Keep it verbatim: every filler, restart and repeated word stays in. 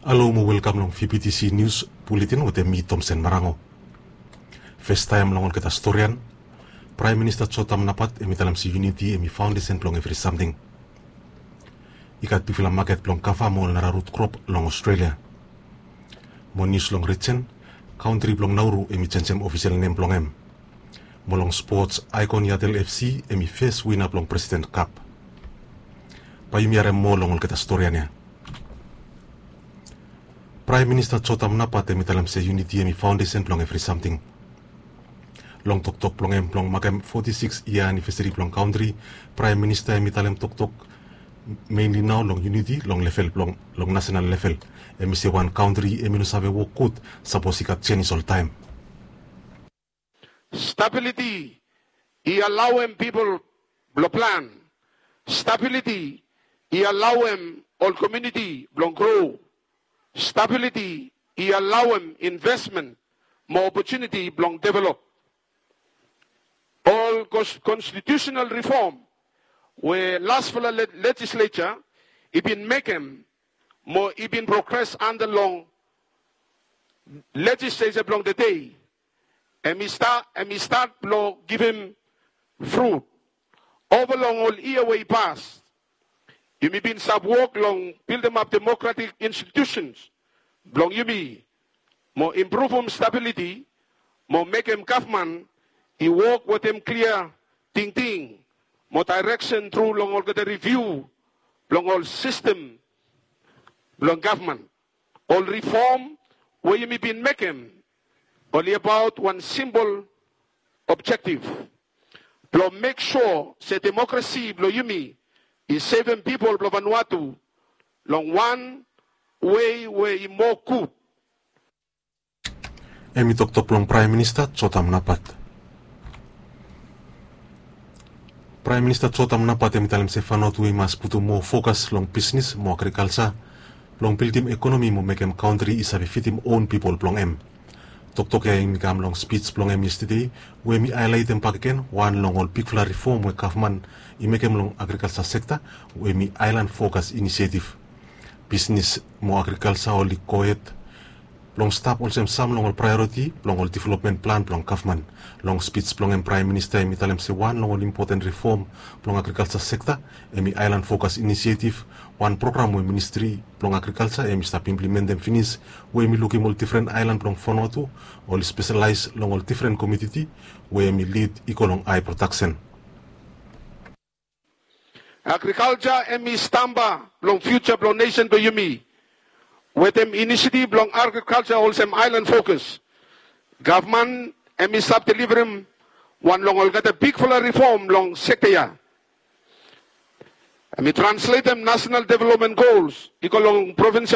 Halo mo welkam long V B T C Nius Buletin wetem mi, Tomsen Marango. Fastaem long olgeta storian, Praem Minista Jotam Napat hemi talem se yuniti hemi faondesen blong evri samting. I gat bigfala maket blong kava mo ol nara rut krop long Australia. Mo nius long rijen, kantri blong Nauru hemi jenjem ofisel nem blong hem. Mo long spots, Aikon Yatel F C hemi fes wina blong President Cup. Bae yumi harem moa long olgeta storian ya. Praem Minista Jotam Napat hemi talem se yuniti hemi faondesen blong evri samting. Long toktok blong hem blong makem foti sikis yia anivesari blong kantri, Praem Minista hemi talem toktok menli nao long yuniti long level blong, long nasenal level. Hemi se wan kantri hemi no save wok gud sapos i gat jenis oltaem. Stabiliti i alaoem pipol blong plan. Stabiliti i alaoem ol komuniti blong gro. Stabiliti i alaoem investmen mo opotuniti blong develop. Ol kons-, konstitiusenal rifom we lasfala le-, lejisleta i bin mekem mo i bin progres anda long lejisleta blong tede, hemi sta-, hemi stat blong givim frut. Ova long ol yia we i pas, yumi bin stap wok long bildimap demokratik institusens blong yumi, mo impruvum stabiliti, mo mekem gavman i wok wetem klia tingting mo daereksen tru long olgeta riviu blong ol sistem blong gavman. Ol rifom we yumi bin mekem oli abaot wan simpol objektif blong mek sua se demokrasi blong yumi i sevem pipol blong Vanuatu long wan wei we i moa gud. Hemi toktok blong Praem Minista Jotam Napat. Praem Minista Jotam Napat hemi talem se Vanuatu i mas putum moa fokas long bisnis mo agrikalja blong bildim ekonomi mo mekem kantri i save fidim own pipol blong hem. Toktok ya hemi kam long spij blong hem yestede, we hemi haelaetem bakegen wan long ol bigfala rifom we gavman i mekem long agrikalja sekta, we hemi Aelan Fokas Inisietiv. Bisnis mo agrikalja oli gohed blong stap olsem sam long ol praeoriti blong ol developmen plan blong gavman. Long spij blong hem, Praem Minista hemi talem se wan long ol impoten rifom blong agrikalja sekta hemi Aelan Fokas Inisietiv, wan program we Ministri blong Agrikalja hemi stap implementem finis, we hemi lukim ol difren aelan blong Vanuatu oli speselaes long ol difren komoditi we hemi lid i go long hae prodaksen. Agrikalja hemi stamba blong fiuja blong nesen blong yumi. Wetem inisiativ blong agrikalja olsem Aelan Fokas, gavman hemi stap delivarem wan long olgeta bigfala rifom long sekta ya. Hemi transletem nasenal developmen gols i go long provinsial